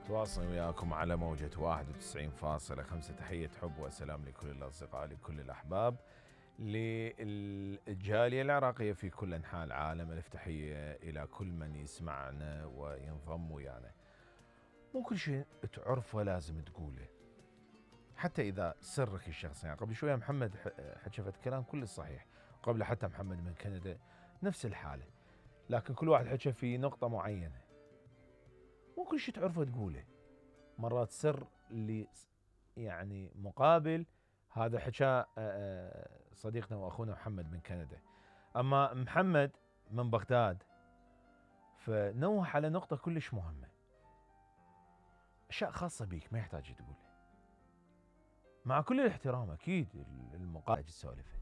تواصل وياكم على موجة 91.5. تحية حب وسلام لكل الأصدقاء لكل الأحباب للجالية العراقية في كل أنحاء العالم. ألف تحية إلى كل من يسمعنا وينضم ويانا. مو كل شيء تعرفه لازم تقوله، حتى إذا سرك الشخصي. يعني قبل شوية محمد حكفت كلام كل صحيح، قبل حتى محمد من كندا نفس الحالة، لكن كل واحد حكى في نقطة معينة. مو كل شيء تعرفه تقوله، مرات سر اللي يعني مقابل هذا حكى صديقنا واخونا محمد من كندا. اما محمد من بغداد فنوه على نقطة كلش مهمة، اشياء خاصة بيك ما يحتاج تقولها، مع كل الاحترام اكيد المقابل تسولفه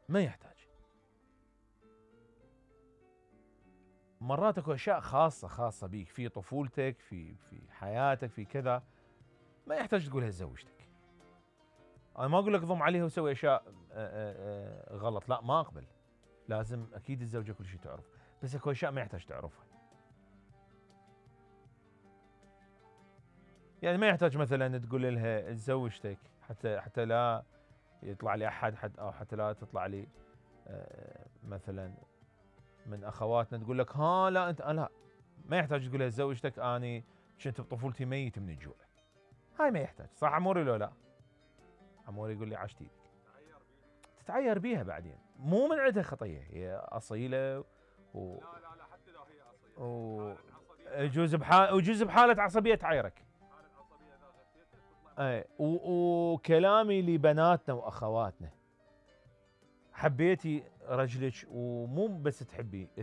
ما يحتاج. مرات اكو اشياء خاصة بيك في طفولتك في حياتك في كذا ما يحتاج تقولها لزوجتك. انا ما اقول لك ضم عليها وسوي اشياء غلط، لا ما اقبل، لازم اكيد الزوجة كل شيء تعرف، بس اكو اشياء ما يحتاج تعرفها. يعني ما يحتاج مثلا تقول لها لزوجتك حتى لا يطلع لي احد او حتى لا تطلع لي مثلا من اخواتنا تقول لك ها لا انت لا، ما يحتاج تقولها لزوجتك اني كنت بطفولتي ميت من الجوع. هاي ما يحتاج، صح عموري لو لا؟ عموري يقول لي عاشت ايدك. تتعير بيها بعدين، مو من عندها خطيه، هي اصيله لا حتى لو هي اصيله يجوز بحاله عصبيه تعيرك. اي وكلامي لبناتنا واخواتنا، حبيتي رجلك ومو بس تحبي